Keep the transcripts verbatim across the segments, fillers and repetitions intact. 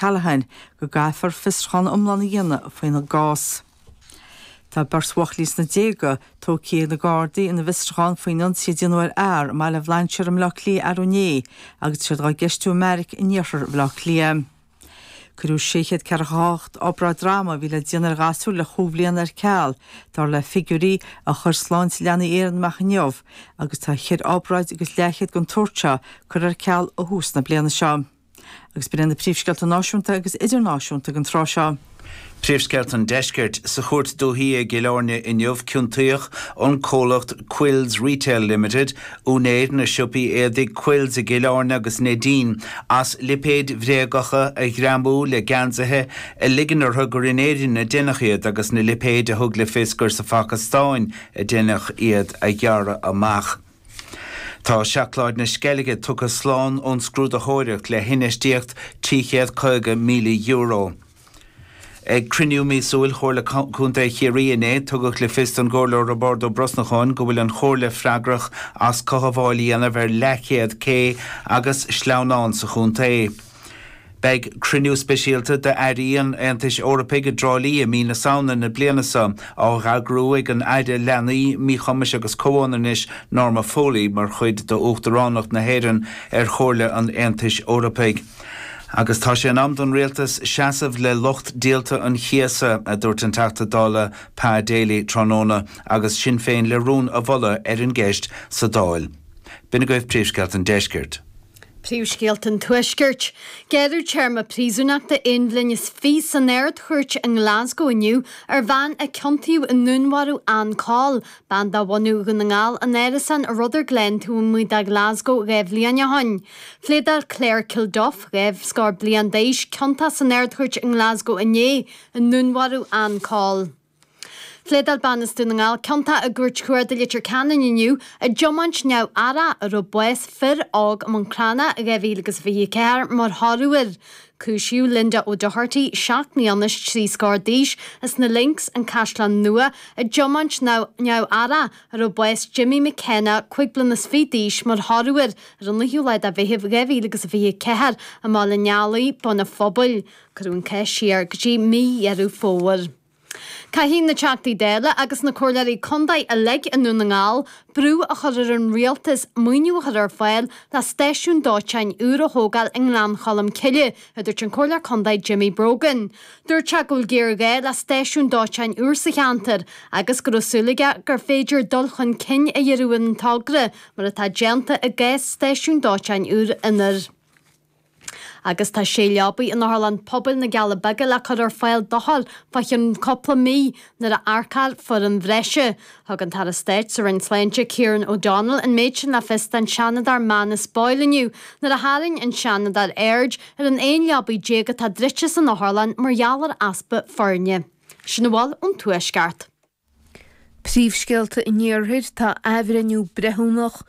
Callaghan go gcaithfear fiosrúchán iomlán a dhéanamh faoina gcás. Tá beirt bhuachaillí sna déaga tógtha ag na Gardaí ina bhfiosrúchán faoin ionsaí a déanadh ar fhear i mBaile Bhlainséir i mBleá Cliath arú inné agus siad á gceistiú i mbeairic in iarthar Bhaile Átha Cliath. Cuireadh sé chéad ceathracha hocht obráid droma a bhí le déanamh ar ghasúir le chúig bhliana ar ceal, dar le figiúirí a chuir Sláinte Leanaí Éireann amach inniu, agus tá ceithre obráid agus leathchéad den tsórt seo curtha ar ceal ó thús na bliana seo. Agus b'in na príomhscéalta náisiúnta agus idirnáisiúnta den tráth seo. Príomhscéalta an Deiscirt sa chúirt dúiche i gCill Airne inniu ciontaíodh an comhlacht Quills Retail Limited úinéir na siopaí éadaí Quills i gCill Airne agus Neidín as lipéid bhréagacha a ghreamú le geansaithe a ligean orthu gur in Éirinn a déanadh iad agus na lipéid a thug le fios gur sa Phacastáin a déanadh iad a ghearradh amach. Tá seacláid na Sceilge tugtha slán ón scrúdaitheoireacht le hinfheistíocht trí chéad caoga míle euro. Ag cruinniú míosúil Chomhairle Contae Chiarraí inné tugadh le fios don gComhairleoir Roibeárd Ó Brosnacháin go bhfuil an chomhairle freagrach as cothabháil a dhéanamh ar leathchéad cé agus sleamhnán sa chontae. Beidh cruinniú speisialta d'airí an Aontais Eorpaigh i dTrá Lí i mí na Samhna na bliana seo á eagrú ag an Aire Leanaí Míchumais agus Comhionannais Norma Foley mar chuid d'Uachtaránacht na hÉireann ar Chomhairle an Aontais Eorpaigh. Agus tá sé in am don rialtas seasamh le lucht díolta an chíosa a dúirt an Teachta Dála Pa Daly tráthnóna agus Sinn Féin le rún a mholadh ar an gceist sa Dáil. B'in agaibh príomhscéalta an Deiscirt. Príomhscéalta an Tuaiscirt. Gearradh téarma príosúnachta aon bhliain is fiche san Ard-Chúirt i nGlasgow inniu ar bhean a ciontaíodh i ndúnmharú Ann Coll, bean de bhunadh Dhún na nGall in árasán i Rutherglen taobh amuigh de Glasgow dhá bhliain ó shin. Phléadáil Claire Kilduff, dhá scór bliain d'aois, ciontach san Ard-Chúirt i nGlasgow inné i ndúnmharú Ann Coll. Phléadáil bean as Dún na nGall ciontach i gCúirt Chuarda Leitir Ceanainn inniu i dtiomáint neamhaireach a raibh bás fir óg i Manchánach dhá mhíle agus fiche ceathair mar thoradh air. Cúisíodh Linda O'Doherty seacht mbliana is trí scór d'aois as na Links an Caisleán Nua i dtiomáint neamhaireach a raibh bás Jimmy McKenna cúig bliana is fiche d'aois mar thoradh air ar an naoú lá de Mheitheamh dhá mhíle agus fiche ceathair i mBaile an Eallaigh, Bun an Phobail. Cuireadh an cás siar go dtí mí Dheireadh Fómhair. Caithfidh na Teachtaí Dála agus na Comhairleoirí Contae uilig i nDún na nGall brú a chur ar an rialtas maoiniú a chur ar fáil le stáisiún dóiteáin úr a thógáil i nGleann Cholm Cille, a dúirt an Comhairleoir Contae Jimmy Brogan. Dúirt sé go bhfuil géarghá le stáisiún dóiteáin úr sa cheantar agus go raibh súil aige gur féidir dul chun cinn a dhéanamh ar an togra mar atá déanta i gcás stáisiún dóiteáin úr Inbhir. Agus tá sé leabaidh in Otharlann Pobail na gCealla Beaga le cur ar fáil d'othair fá cheann cúpla mí nuair a earcófar foireann bhreise. Thug an tAire Stáit sa Roinn Sláinte Kieran O'Donnell an méid sin le fios don Seanadóir Manus Boyle inniu nuair a tharraing an Seanadóir aird ar an aon leabaidh déag atá druidte san otharlann mar gheall ar easpa foirne. Sin a bhfuil ón Tuaisceart. Príomhscéalta an Iarthair tá athbhreithniú breithiúnach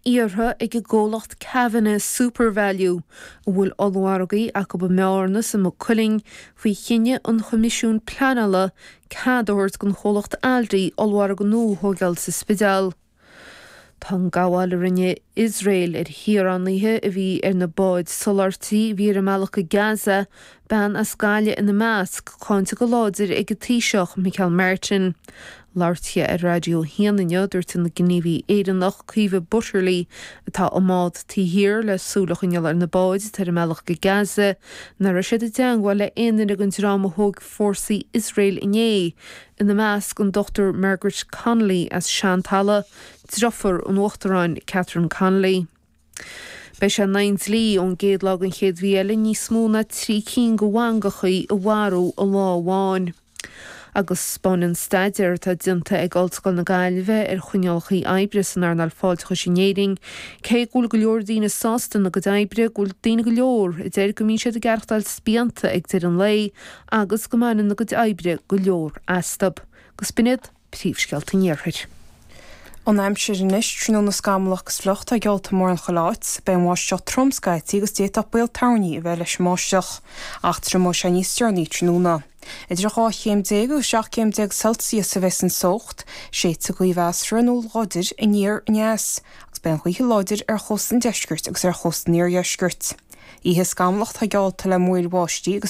iarrtha ag an gcomhlacht Kavanagh SuperValu, a bhfuil ollmhargaí acu i mBearna is i Maigh Cuilinn faoi chinneadh an Choimisiúin Pleanála cead a thabhairt don chomhlacht Aldi ollmhargadh nua a thógáil sa Spidéal. Tá an gabháil a rinne Iosrael ar shaoránaithe a bhí ar na báid soláthairtí a bhí ar a mbealach go Gaza, bean as Gaillimh ina measc, cáinte go láidir ag an Taoiseach Micheál Martin. Labhairt ar Raidió a haon inniu dúirt an gníomhaí Éireannach Caoimhe Butterly atá i mbád taobh thiar le súil a choinneáil ar na báid atá ar a mbealach go Gaza, nach raibh siad i dteagmháil le aon duine den dream a thóg fórsaí Iosrael inné, ina measc an Dr Margaret Connolly as Seantalamh, deirfiúr an Uachtaráin Catherine Connolly. Beidh sé in aghaidh an dlí ón gcéad lá den chéad mhí eile níos mó ná trí cinn de mhangachaí a mharú i lá amháin. Agus spáineann staidéar atá déanta ag Ollscoil na Gaillimhe ar choinníollacha oibre san earnáil fáilteachais in Éirinn, cé go bhfuil go leor daoine sásta ina gcuid oibre, go bhfuil daoine go leor a deir go mbíonn siad ag aireachtáil spíonta ag deireadh an lae agus go mbaineann a gcuid oibre go leor astu. Agus b'in iad príomhscéalta an Iarthair. An aimsir anois tráthnóna scamallach agus fliuch tá geallta mórán chuile áit, beidh an bháisteach trom scaití agus d'fhéadfadh baol toirní a bheith leis an mbáisteach, ach triomóidh sé níos deireanaí tráthnóna. Idir dhá chéim déag agus seacht céim déag Celsius a bheas an teocht, séidfidh gaoth mheasartha nó láidir aniar aneas, agus beidh an ghaoth láidir ar chósta an deiscirt agus ar chósta an iardheiscirt. Oíche scamallach tá geallta le múraíl bháistí agus